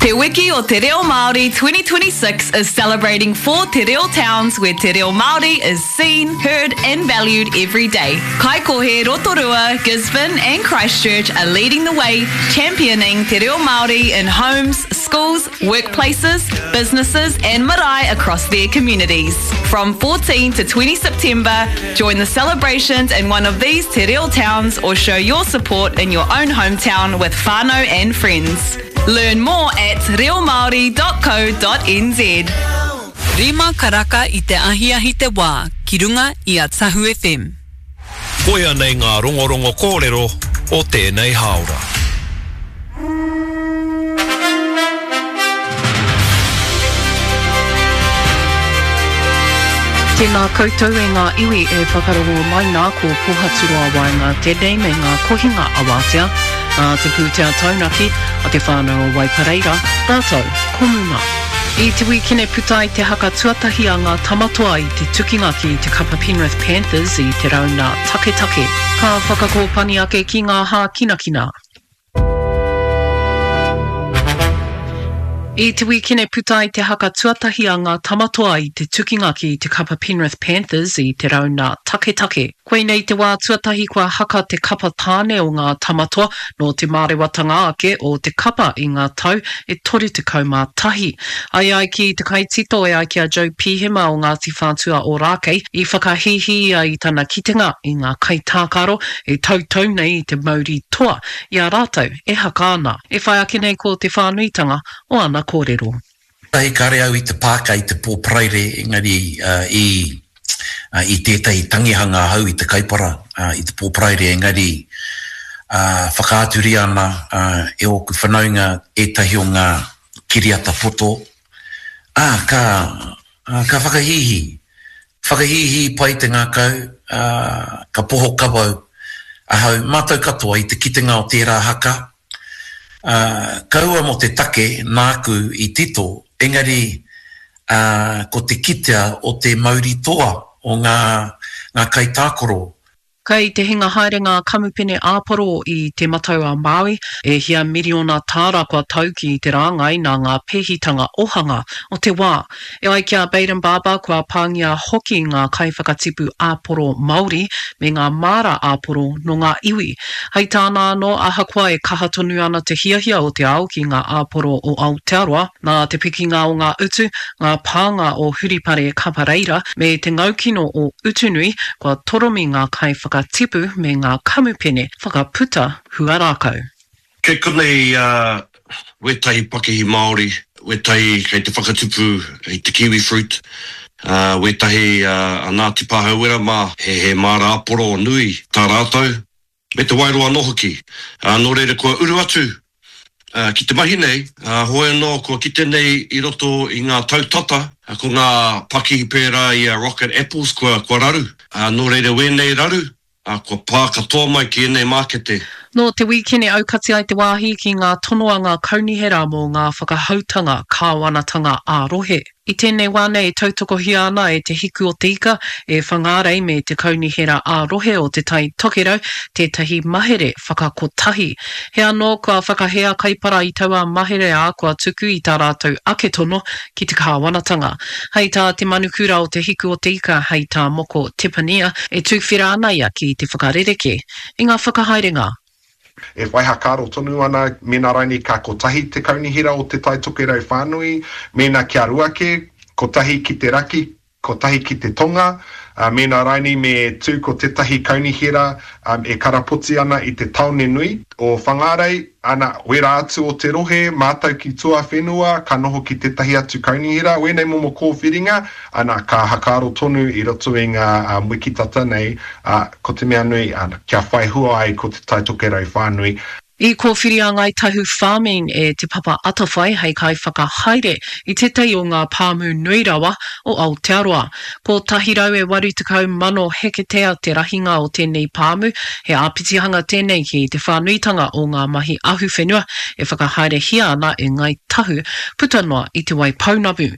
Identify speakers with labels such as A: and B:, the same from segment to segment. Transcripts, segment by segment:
A: Te Wiki o Te Reo Māori 2026 is celebrating four Te Reo towns where Te Reo Māori is seen, heard and valued every day. Kaikohe, Rotorua, Gisborne and Christchurch are leading the way, championing Te Reo Māori in homes, schools, workplaces, businesses and marae across their communities. From 14 to 20 September, join the celebrations in one of these Te Reo towns or show your support in your own hometown with whānau and friends. Learn more at reomaori.co.nz.
B: Rima karaka i te ahiahi te wā ki runga i a Tahu FM.
C: Koia nei ngā rongorongo kōrero o tēnei hāora.
D: Tēnā koutou e ngā iwi e whakarongo mai nā ko Pohaturoa Waenga tēnei me ngā kohinga awatea nā te pūtea taunaki a te whānau o Waipareira rātou ko Muma. I te wīkene puta ai te haka tuatahi a ngā Tamatoa i te tukinga ki te kapa Penrith Panthers i te rauna taketake. Ka whakakōpani ake ki ngā hākinakina. I te wīkene puta ai te haka tuatahi a ngā Tamatoa i te tukinga ki te kapa Penrith Panthers i te rauna taketake. Koinei te wā tuatahi kua haka te kapa tāne o ngā Tamatoa nō te mārewatanga ake o te kapa i ngā tau e 31. Ai ai ki te kaitito e ai ki a Joe Pihema o Ngāti Whātua Ōrākei, i whakahīhī ia i tana kitenga i ngā kaitākaro e tautau nei i te mauri toa i a rātou e haka ana. E whai ake nei ko te whānuitanga o ana kōrero.
E: Tahi kare au i te pāka i te pō Paraire engari i i tētahi tangihanga ahau i te Kaipara i te pō Paraire engari whakaaturia ana e ōku whanaunga ētahi o ngā kiriata poto, ā, ka ka whakahīhī. Whakahīhī pai te ngākau, ā, ka poho kawau ahau, mātou katoa i te kitenga o tērā haka, Ā, kaua mō te take nāku i tito, engari, ā, ko te kitea o te mauri toa o ngā, ngā kaitākaro.
D: Kei te hinga haere ngā kamupene āporo i Te Matau-a-Māui, e hia miriona tāra kua tau ki te rāngai nā ngā pēhitanga ohanga o te wā. E ai ki a Bayden Barber, kua pāngia hoki ngā kaiwhakatipu āporo Māori me ngā māra āporo nō ngā iwi. Hei tāna anō, ahakoa e kaha tonu ana te hiahia o te ao ki ngā āporo o Aotearoa, nā te pikinga o ngā utu, ngā pānga o Huripare Kapareira me te ngaukino o Utunui, kua toromi ngā kaiwhakatipu me ngā kamupene whakaputa huarākau.
F: Kei konei wētahi pakihi Māori, wētahi kei te whakatupu i te kiwi fruit, wētahi a Ngāti Pāhauwera mā, he māra āporo nui tā rātou, me te waeroa anō hoki. Nō reira kua uru atu ki te mahi nei, hoi anō kua kite nei i roto i ngā tau tata, ko ngā pakihi pērā i a Rocket Apples kua raru. Nō reira wēnei raru, ā, kua pā katoa mai ki ēnei mākete.
D: Nō te wīkene aukati ai te wāhi ki ngā tono a ngā kaunihera mō ngā whakahoutanga kāwanatanga ā-rohe. I tēnei wā nei e tautokohia ana e Te Hiku o Te Ika, e Whangārei me te Kaunihera ā-Rohe o Te Tai Tokerau tētahi mahere whakakotahi. He anō kua whakahē a Kaipara i taua mahere ā, kua tuku i tā rātou ake tono ki te kāwanatanga. Hei tā te manukura o Te Hiku o Te Ika, hei tā Moko Tepania, e tuwhera ana ia ki te whakarerekē i ngā whakahaerenga.
G: E whai hakaaro tonu ana mēnā rainei ka kotahi te kaunihera o Te Tai Tokerau whānui, mēnā kia ruake, kotahi ki te raki, kotahi ki te tonga, ā, mēnā rainei me tū ko tētahi kaunihera e karapoti ana i te tāone nui o Whangārei, ana, wērā atu o te rohe, mātau ki tuawhenua, ka noho ki tētahi atu kaunihera, wēnei momo kōwhiringa, ana, ka hakaaro tonu i roto i ngā wiki tata nei, ā, ko te mea nui, ana, kia whai hua ai ko Te Tai Tokerau whānui.
D: I kōwhiria a Ngāi Tahu Farming e Te Papa Atawhai hei kaiwhakahaere i tētahi o ngā pāmu nui rawa o Aotearoa. 180,000 heketea te rahinga o tēnei pāmu, he āpitihanga tēnei ki te whānuitanga o ngā mahi ahuwhenua e whakahaerehia ana e Ngāi Tahu puta noa i Te Waipounamu.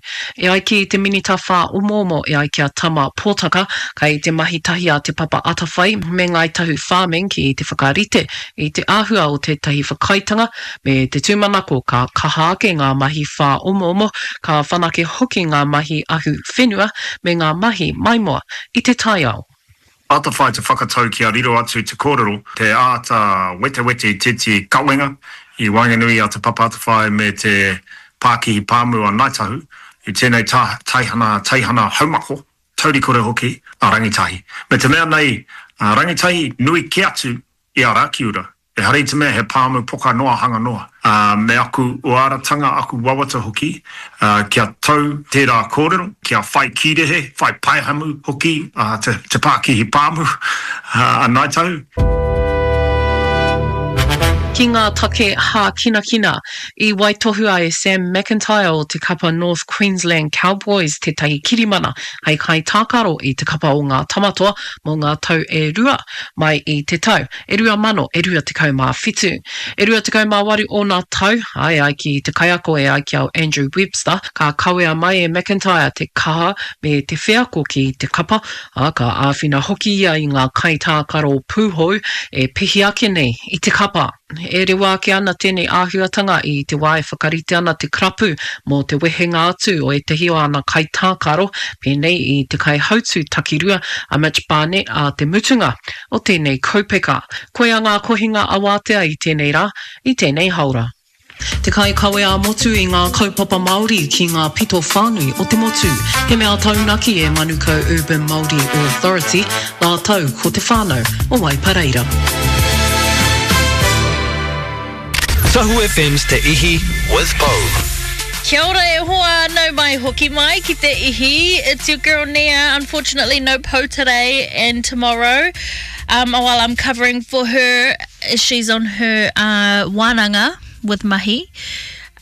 D: E ai ki te Minita Whāomoomo e ai ki a Tama Potaka, kei te mahi tahi a Te Papa Atawhai me Ngāi Tahu Farming ki te whakarite i te āhua o te. tētahi whakaaetanga me te tūmanako ka kaha ake ngā mahi whāomoomo, ka whanake hoki ngā mahi ahu whenua me ngā mahi maimoa i te taiao.
H: Atawhai te whakatau kia riro atu te kōrero, te āta wetewete i tētehi kawenga i waenganui i a Te Papa Atawhai me te Pākihi Pāmu a Ngāi Tahu i tēnei taihana teihana haumako, taurikore hoki, a Rangitahi. Me te mea nei, a Rangitahi nui kē atu i a Rakiura. Ehara i te mea he pāmu poka noa hanga noa. Ā, me aku uaratanga, aku wawata hoki, ā, kia tau tērā kōrero, kia whai kīrehe, whai paehamu hoki a te, te pākihi pāmu, ā, a Ngāi Tahu.
D: Ki ngā take hākinakina, i waitohua e Sam McIntyre o te kapa North Queensland Cowboys tētahi kirimana hei kaitākaro i te kapa o ngā Tamatoa mō ngā tau e rua mai i te tau e 2,000 e 27. E 28 ōna tau, ā, e ai ki te kaiako e ai ki a Andrew Webster, ka kawea mai e McIntyre te kaha me te wheako ki te kapa, ā, ka āwhina hoki ia i ngā kaitākaro pūhou e pihi ake nei i te kapa. E rewa ake ana tēnei āhuatanga i te wā e whakarite ana te karapu mō te wehenga atu o ētahi o ana kaitākaro, pēnei i te kaihautū takirua a Mitch Barnett ā te mutunga o tēnei kaupeka. Koia ngā kohinga awātea i tēnei rā, i tēnei haora. Te kaikawe ā-motu i ngā kaupapa Māori ki ngā pito whānui o te motu. He mea taunaki e Manukau Urban Māori Authority rātou ko te whānau o Waipareira.
C: Tahu FM's Te Ihi with Pou.
A: Kia ora e hoa, nau mai hoki mai ki te ihi. It's your girl Nia, unfortunately no Pou today and tomorrow. Um, while I'm covering for her, she's on her uh, wānanga with Mahi.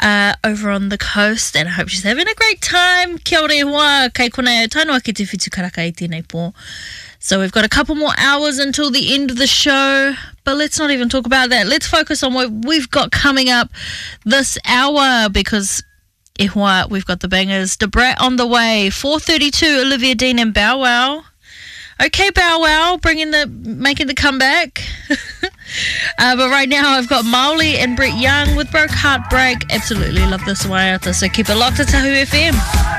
A: Uh, over on the coast and I hope she's having a great time. Kia ora e hoa, kei konei au tae noa ki te whitu karaka i tēnei pō. So we've got a couple more hours until the end of the show, but let's not even talk about that. Let's focus on what we've got coming up this hour because e hoa, we've got the bangers. Da Brat on the way, 4.32, Olivia Dean and Bow Wow. Okay, Bow Wow, bringing the making the comeback. uh, but right now I've got Maoli and Brett Young with Broke Heartbreak. Absolutely love this one, so keep it locked to Tahu FM.